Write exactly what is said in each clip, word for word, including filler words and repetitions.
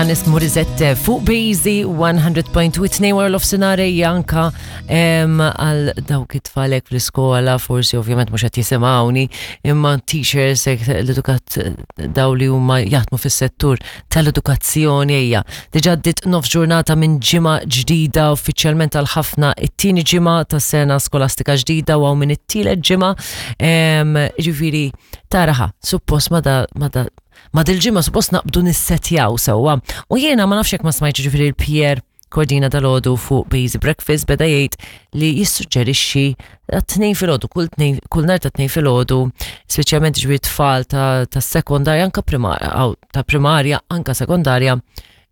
Alanis Morissette fuq Bejzi one hundred point two, tnejn wara nofsinhar anka għal dawk it-tfalek fl-iskola, forsi ovvjament mhux qed jisimgħuni, imma teachers, l-edukat, daw li huma jaħdmu fis-settur tal-edukazzjoni, ejja. Diġà għaddiet nofs ġurnata minn ġimgħa ġdida, uffiċjalment għal ħafna it-tieni ġimgħa tas-sena skolastika ġdida u minn it-tielet ġimgħa, ġifieri taraha, suppost ma da ma da ma dil-ġimgħa suppost naqbdu nissetjaw sewwa. U jiena ma nafx jekk ma smajtx, ġifieri l-Pierre Cordina dalgħodu fuq Bejzi Breakfast beda jgħid li jissuġġerixxi tnejn filgħodu, kull tnejn, kull nhar ta' Tnejn filgħodu, speċjalment ġifieri tfal ta' ta' sekondarja, anka primarja, ta' primarja, anka sekondarja,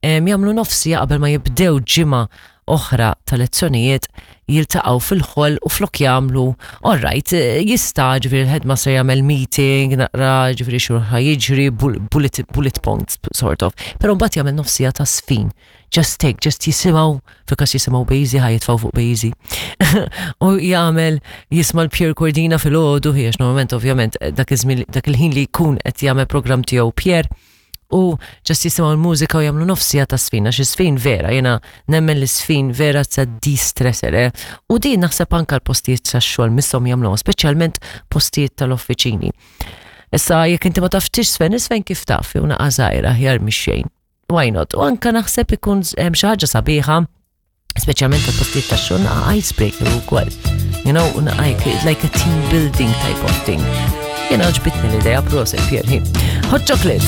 jagħmlu nofs siegħa qabel ma jibdew ġimgħa oħra ta' lezzjonijiet, jiltaqgħu fil-hall u flok jagħmlu, all right, jista' ġifieri l-headmaster jagħmel meeting, naqra ġifieri x'ħa jiġri, bullet, bullet points sort of, però mbagħad jagħmel nofs siegħa ta' żfin. Just take, just jisimgħu, fil-każ jisimgħu Bejzi, ħa jitfgħu fuq Bejzi. U jagħmel jisma' l-Pierre Cordina filgħodu, għax normalment ovvjament dak dak il-ħin li jkun qed jagħmel program tiegħu Pierre, u just jisimgħu l-mużika u jagħmlu nofs siegħa ta' żfin, għax żfin vera, jiena nemmen li żfin vera ta' de-stressor, eh? U din naħseb anka l-postijiet ta' xogħol misshom jagħmluha, speċjalment postijiet tal-offiċini. Issa jekk inti ma tafx tiżfen, iżfen kif taf, jew naqa' żgħira aħjar mix-xejn. Why not? U anka naħseb ikun hemm xi ħaġa sabiħa, speċjalment tal-postijiet ta' xogħol, naqa' icebreaker ukoll. You know, like a team building type of thing. Jiena għoġbitni l-idea, prosit Pierre. Hot chocolate.